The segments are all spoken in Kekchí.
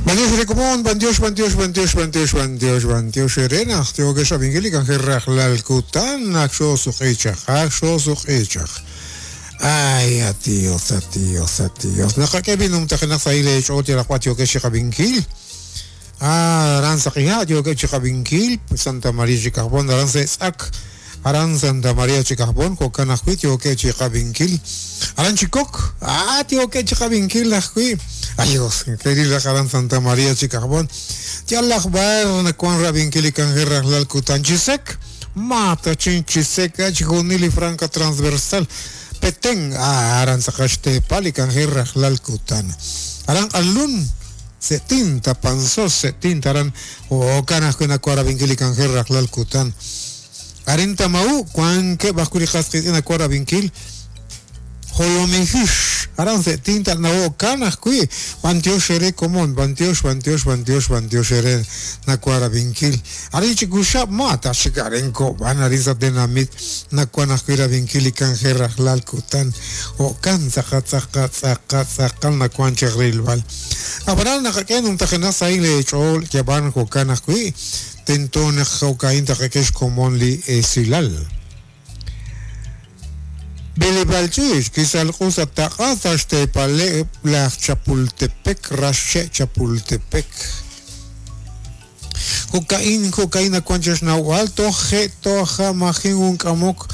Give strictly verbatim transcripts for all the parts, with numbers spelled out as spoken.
Bantiox rekomon, bantiox, bantiox, bantiox, bantiox, bantiox, bantiox erena, tiokex abingelik angerraj lalkutan, akxo suqichaj, akxo suqichaj. Ay, atios, atios, atios. Naqak'ebinum tajinaq saile ch'oot yaraqwa tiokex chiqabinkil. Ah, aran saqija tiokex chiqabinkil, Santa María Chicajbón, aran setz'ak. Aran Santa María Chicajbón, jo'kan ajwi' tiokex chiqabinkil. Aran Chikok, ah, tiokex chiqabinkil ajwi'. Ayos, querida Aran Santa María Chicajbón. Yalaj bar nakuan rabinkil ikanjer lalkutan chisek. Mata chin chisek, achgunili franca transversal. Petén, ah, aran sakaxte palikanjer lalkutan. Aran alun, setinta panzos, setinta aran, o kanaj nakuara binkil ikanjer lalkutan. Arinta mau, kuan ke bakuri qasqis ina kuara binkil. Jolomijish, aran setinta na kanaj kui, bantiox ere komon, bantiox, bantiox, bantiox, bantiox ere nakuara binkil. Arin chikushap mata shikarenko, van arin satenamit, nakuanaj kuira binkil ikanjerraj lalkutan, o kan zakat zakat zakat zakat nakuan chegrilbal. Abaran nakaken untajena saile chol, yaban jokanaj kui, tentón jokain takekesh komon li esilal. Belebalchich, kisalqusa taqasa xtepale laj Chapultepec, rashe Chapultepec. Jokain, jokain akuanchesh nahual, toje, toja, majin un kamok,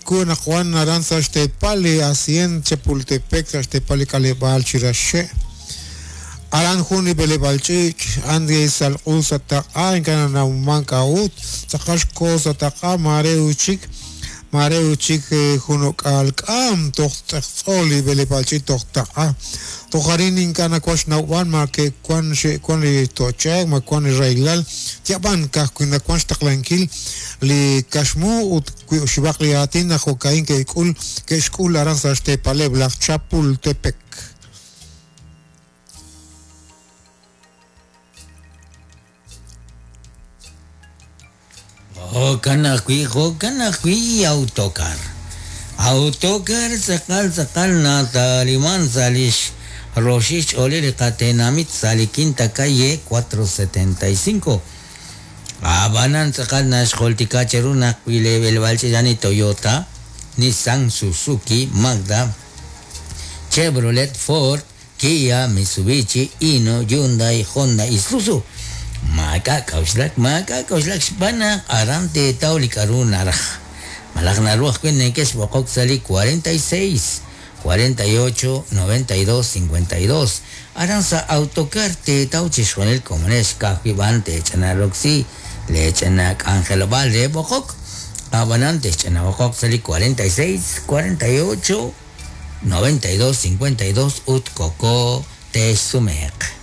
kun akuan naranza xtepale, asien Chapultepec, xtepale kalebal chirashe. Aran juni belebalchich, andi salqusa taqa, enkananauman kaut, tzaqax cosa taqa, mareuchik. Mareuchik junok'alk'am toqtz'eqtz'oli belebalchik toqtaqa toqarin inkana kuax naw'an ma ke kuan xe kuan li tochek ma kuan li railal tiaban kaj kuina kuan xtaqlankil li kaxmu ut xibaq li atin jokain ke ik'ul ke xk'ul aran sa xtepaleb laj Chapultepec. Jo'kan ajwi', jo'kan ajwi' autocar. Autocar tz'aqal tz'aqal nataliman sa' lix roxix ch'oolil li qatenamit sa' li quinta calle cuatro setenta y cinco. Abanan tz'aqal naxjoltika cheru naq wi leb'elb'al ch'ilani Toyota, Nissan, Suzuki, Mazda, Chevrolet, Ford, Kia, Mitsubishi, Hino, Hyundai, Honda, Isuzu. Maka k'auxlak, maka k'auxlak xb'anaq aran teetaw li k'aru naraj. Malaj naruaj kuen nekex b'oqok sa' li cuarenta y seis, cuarenta y ocho, noventa y dos, cincuenta y dos. Aran sa autocar teetaw chixjunil komonex kajwi b'an techanaroksi lechana k'anjelob'al re b'oqok. Ab'anan techanab'oqok sa' li cuarenta y seis, cuarenta y ocho, noventa y dos, cincuenta y dos ut koko texsumeq.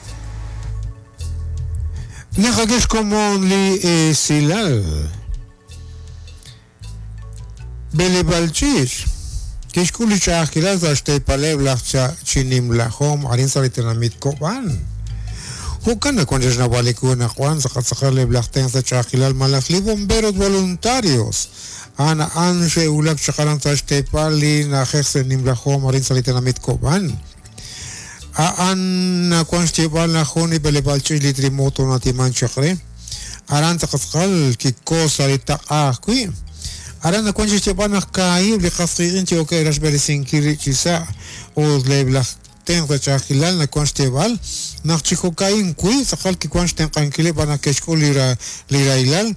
Naqakex komon li esilal. Belebalchich, kixk'ul li ch'a'ajkilal sa' xtepaleb laj chinimlajom arin sa' li tenamit Kob'an. Jo'kan nakuan xnawaliku nakuan saqatzaqaleb laj ten sa' ch'a'ajkilal malaj li bomberos voluntarios. Ana an xe'ulak chaqaran sa' xtepal li na'ajej sa' nimlajom arin sa' li tenamit Kob'an. Aan nakuan xtib'al najun ibelebalchich li trimoto natiman chaqre. Aran tzaqatzqal kikosa li taq'aj kui. Aran nakuan xtib'al naj kaayib li qasqi'in tioke raxb'eresinkil chisa' ut leblaj ten sa ch'a'ajkilal nakuan xtib'al naj chijoka'in kui tzaqal kikuan xtenq'ankileb' b'anaj kexk'ul li ra li railal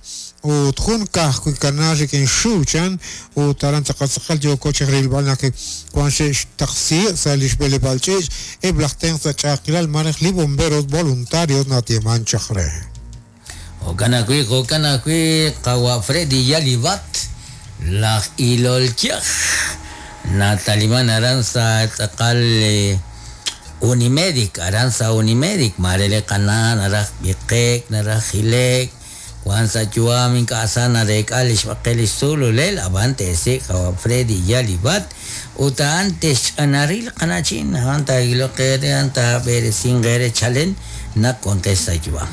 ut jun kaj kui kanal rikin xuchan ut aran tzaqatzaqal yoko chejrilb'al naj kuan xe'xtaqsi' sa' li xb'eleb'alch'ich eb' laj ten sa ch'a'ajkilal marej li bomberos voluntarios natiman chaqre. Jo'kan ajwi', jo'kan ajwi' qawa Freddy Yalibat laj ilolkyaj nataliman aran sa tz'aqal Unimedic, aran sa Unimedic, marele qanan araj b'iqek naraj jilek Juan sa yuam ink'asana rek'al ixb'aqel ixsululel ab'an te'sik qawa Freddy Yalibat uta antes ch'anaril qanachin anta iloqere anta b'eresin qere chalen naq kuanqes sa yuam.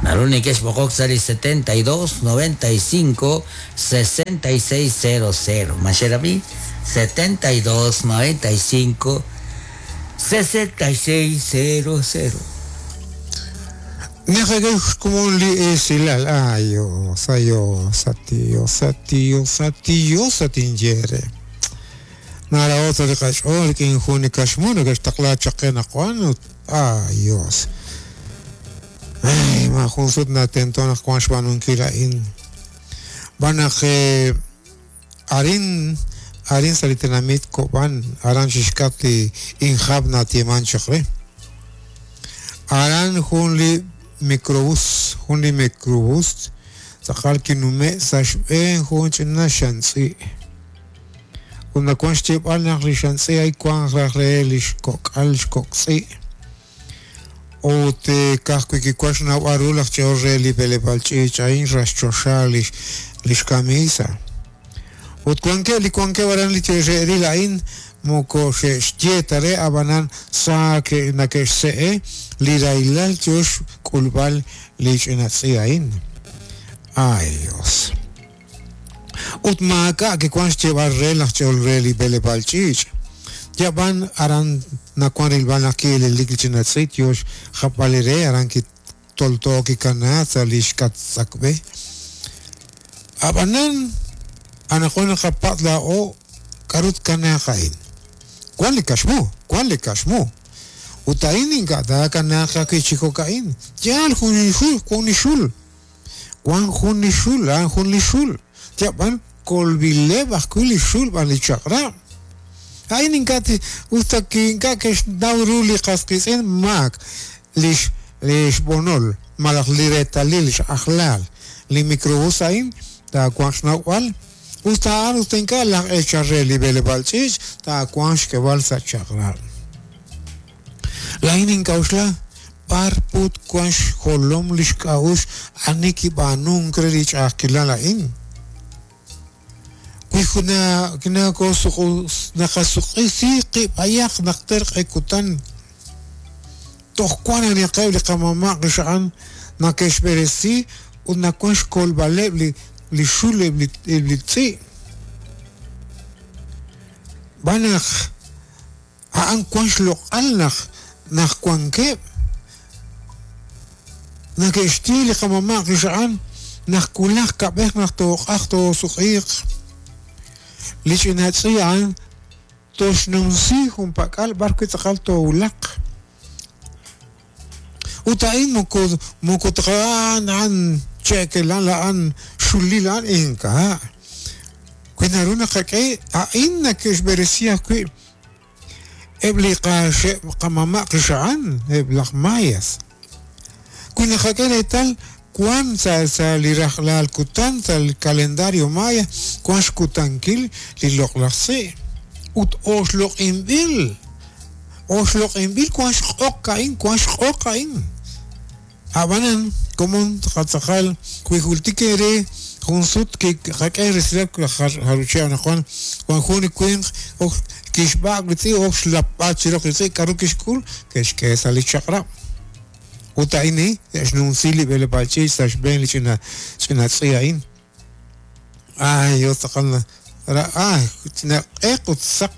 Naru nekex b'oqok sa li setenta y dos, noventa y cinco, sesenta y seis, cero cero. Maxerabi setenta y dos, noventa y cinco, sesenta y seis, cero cero. Naqak'e xkomon li esilal. Ayos, ayos, atios, atios, atios, atinyere. Naraota li qach'ool rik'in jun li kaxmu nake'xtaqla chaq qe naqwan ut ayos. Ay, ma jun sut natento naq wan xb'aanunkil a'in. B'an naq arin arin sa' li tenamit Kob'an aran xixk'at li injab natieman chaq re. Aran jun li microbús, jun li microbús tz'aqal kinume' sa' xb'een jun ch'ina xantz'i. Ut nawan xyeeb'al naq li xantz'i ay wan raj re li xkok'al xkok'tz'i. Ut ka'ajwi' kiwan xnawb'al ru laj ch'ool re li b'eleb'aal ch'iich' a'in raxchoxa lix lix camisa. Ut wankeb' li wankeb' aran li xe'ril a'in moko xe'xye ta re ab'anan sa nake'xse'e li rahilal yo xk'ulb'al li ch'ina tz'i a'in. Ay Dios. Ut maak'a' kiwan xyeeb'al re laj ch'ool re li b'eleb'aal ch'iich'. Yab'an aran nawan rilb'al naq ki'elelik li ch'ina tz'i yo xjapb'al re aran kitolto kikanaak sa' li xk'atz'akb'e. Ab'anan anaqwan naqapatz' laa'o k'aru tkanaaq a'in. Wan li kaxmu, wan li kaxmu. Ut a'in ink'a' taakanaaq ajwi' chi jo'ka'in. Yaal jun li xul, jun li xul. Wan jun li xul, a'an jun li xul. Yab'an kolb'ileb' ajwi' li xul b'an li chaq'rab'. A'in ink'a' usta ink'a' ke'xnaw ru li qas qiitz'in maak lix lix b'onol malaj li reetalil x'ajlaal li microbús a'in taawanq xnawb'al usta a'an usta ink'a' laj eechal re li b'eleb'aal ch'iich' taawanq xk'eb'al sa' chaq'rab'. Laa'in ink'a'uxla b'ar put wan xjolom li xk'a'uxl ani kib'aanunk re li ch'a'ajkilal a'in. Wi juna naqasuq'isi qib' ayaq naq terq'e kutan toj wan aniqeb' li qamama' qixa'an nake'xb'eresi ut nawan xkolb'aleb' li li xul eb' li eb' li tz'i'. B'an naq a'an wan xloq'al naq naq wankeb' nake'xye li qamama' qixa'an naq wulaj kab'ej naq tooq'aj toosuq'iiq. Li ch'ina tz'i a'an toxnumsi junpak'al b'ar wi' tz'aqal toowulaq. Ut a'in moko moko a'an a'an cheekelal a'an xulil a'an ink'a'. Wi naru naqak'e a'in nake'xb'eresi ajwi' eb' li qaxe' qamama' qixa'an eb' laj mayas. Wi naqak'e reetal wan sa' sa' li rajlal kutan sa' li calendario maya wan xkutankil li loq'laj tz'i' ut oxloq'inb'il oxloq'inb'il wan xq'oq a'in wan xq'oq a'in. Ab'anan komon tqatz'aqal wi jultik re jun sut kiqak'e resilal jaruchi anaqwan wan jun li winq ok kixb'aak li tz'i' ok xlapb'al chiroq li tz'i' k'aru kixk'ul ke'xk'e sa' li chaq'rab'. Ut a'in xnumsi li b'eleb'aal ch'iich' sa' xb'een li ch'ina ch'ina tz'i a'in. Ay, Dios tz'aqal ay, ch'ina q'eq ut saq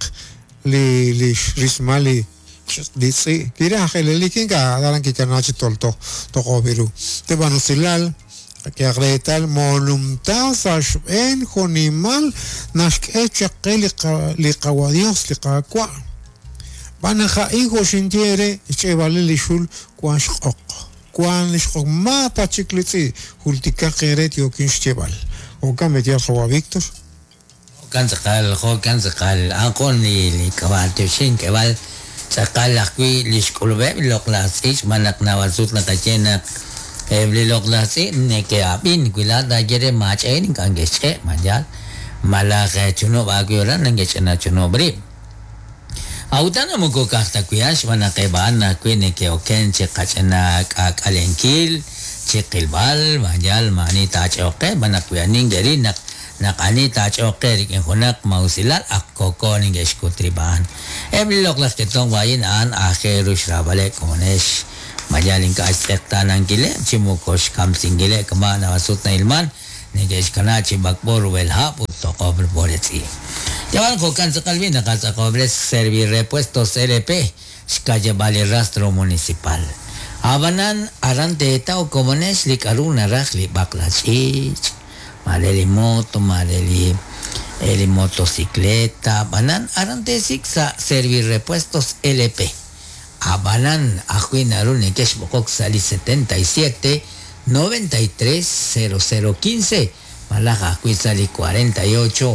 li li rismal li li tz'i'. Kiraj elelik ink'a' aran kikanaak chi tolto toq'ob'il ru. Teb'an usilal qak'ehaq reetal moolumta sa' xb'een junimal naxk'e chaq qe li li qawa Dios li Qaawa'. B'an naq a'in jo' xinye re xch'eeb'alil li xul wan xq'oq. Wan li xq'oq maata chik li tz'i' jultikaq eere yookin xyeeb'al. Jo'kan b'etyal qawa Víctor. Jo'kan tz'aqal, jo'kan tz'aqal. A'an li li k'ab'a'al k'eb'al tz'aqal ajwi' li xk'ulub'eb' li loq'laj tz'i' xb'aan naq naab'al sut naqaye naq eb' li loq'laj tz'i' neke'ab'in wi laa'at taaye re maach'e'in ink'a' nke'xch'e' mayal malaj chunub' aawib' aran neke'ch'ina chunub' rib'. Awutan moko ka'aj ta wi' xb'aan naq eb' a'an ajwi' neke'oken chi qach'ina k'aak'alenkil chi qilb'al mayal ma'ani taach'oq qe b'an naq wi ani nke'ril naq naq ani taach'oq qe rik'in junaq mawusilal ak koko neke'xkut rib' a'an. Eb' li loq'laj ketomq a'in a'an aajel ru xraab'aleb' komonex mayal ink'a' xtz'eqtaanankileb' chi moko xkamsinkileb' kama' naab'al sut na'ilman neke'xkana chi b'ak'b'o rub'el hab' ut toq'ob' b'oretz'i. Yab'an jo'kan tz'aqal b'i naqatz'aqob'res Servirepuestos L P xka'yab'al li rastro municipal. Abanan aran teetaw komonex li k'aru naraj li b'aqla ch'iich', mare li moto, mare li li motocicleta, abanan aran teesik sa' Servirepuestos L P. Abanan ajwi' naru neke'xb'oqok sa' li setenta y siete noventa y tres cero cero quince malaj ajwi' sa' li cuarenta y ocho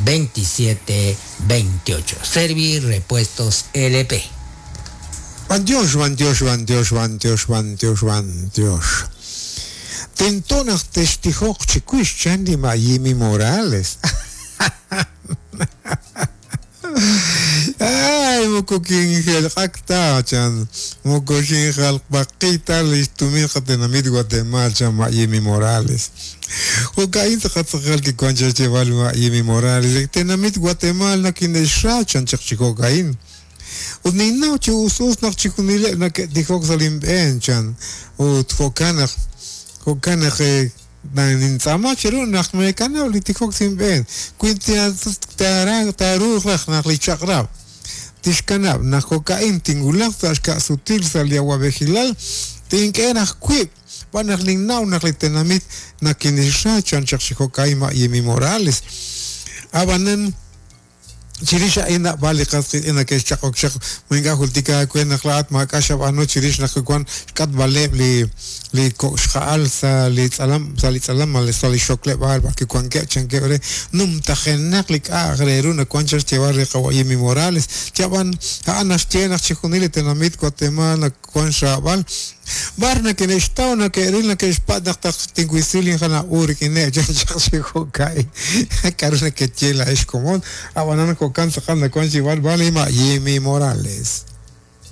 veintisiete veintiocho. Servirepuestos L P. Bantiox, bantiox, bantiox, bantiox, bantiox, bantiox. Tentonaq testijoq chicuix chan li Mayimi Morales. Ay, mokokin gelqakta chan, mokoxin jalqpaqita listumin qatenamit Guatemala chan Mayimi Morales. Jokain taqatzaqal ki kwancha cheval Mayimi Morales, tenamit Guatemala kinesha chan chaqchikokain. Ut ninnaw chi usus naq chikunile naketijok salimben chan, ut jokanaq, jokanaq nintzama chiru naq mekanaw li tijok sinben, kuintia tara taruj naq li chaqrab. Tixkanab naq jokain tingulaq sa xka'sutil sa li awab'ejilal, tink'e naq kuib', b'an naq ninnaw naq li tenamit nakinixra chan chaq chi jokain Mayimi Morales. Abanan chirix a'in nab'al li qas qitz'in nake'xchaq'ok chaq minga jultika kwe naq la'at maak'a' xab'anu chirix naq wan xk'atb'aleb' li li ko'xja'al sa li tz'alam sa li tz'alam sa li xokleb'aal b'ar kiwankeb' chankeb' re numtajenaq li k'a'aq re ru nawan chaq xyeeb'al re qawa' Mayimi Morales chab'an a'an naxye naq chijunil li tenamit Guatemala nawan xraab'al bar nake'xtaw nake'ril nake'xpat naq taq tinwisil injana'u rik'ineb' chan chaq chi jo'ka'in k'aru nakeye la'ex komon ab'anan jo'kan tz'aqal nawan xyeeb'al b'al li Mayimi Morales.